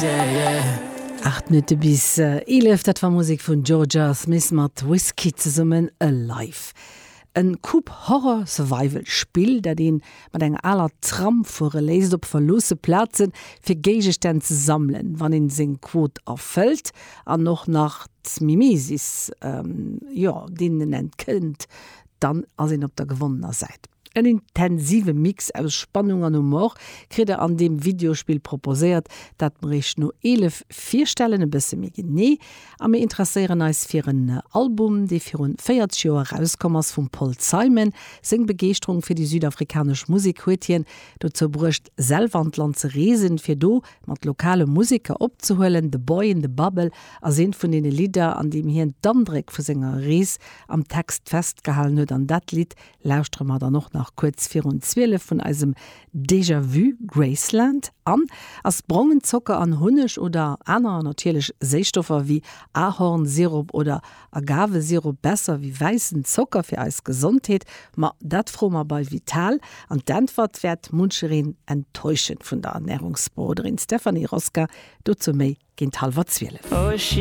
8 Minutte bis 11, dat war Musek vun Jorja Smith mat Wizkid zesummen, Alive. En Coop Horror Survival Spill, dat een mat enger aler Tram fuere léisst op verloosse Plazen fir Géigestänn ze sammelen. Wann een seng Quot erfëllt an och nach d'Mimesis, jo, deenen entkënnt, dann ass een op der gewonnener Säit. En intensive Mix aus Spannung an Humor kritt der an deem Videospill proposéiert, dat mer iech no 11 virstellen. E bësse méi genee a mir interesséieren eis fir en Album, dee virun 40 Joer erauskomm ass vum Paul Simon. Seng Begeeschterung fir déi südafrikanesch Musek huet hien dozou bruecht, selwer an d'Land ze reesen, fir do mat lokale Museker opzehuelen. The Boy in the Bubble ass eent vun deene Lidder, an deem hien d'Andréck vu senger Rees am Text festgehalen huet. An dat Lidd lauschtere mer dann och nach kuerz virun 12 vun eisem Déjà Vu Graceland. An ass brongen Zocker an Hunneg oder aner natierlech Séisstoffer wéi Ahornsirop oder Agavesirop besser wéi wäissen Zocker fir eis Gesondheet? Ma dat froe mer bei Vital an d'Äntwert wäert munchereen enttäuschen. Vun der Ernärungsberoderin Stephanie Rosca dozou méi géint hallwer 12.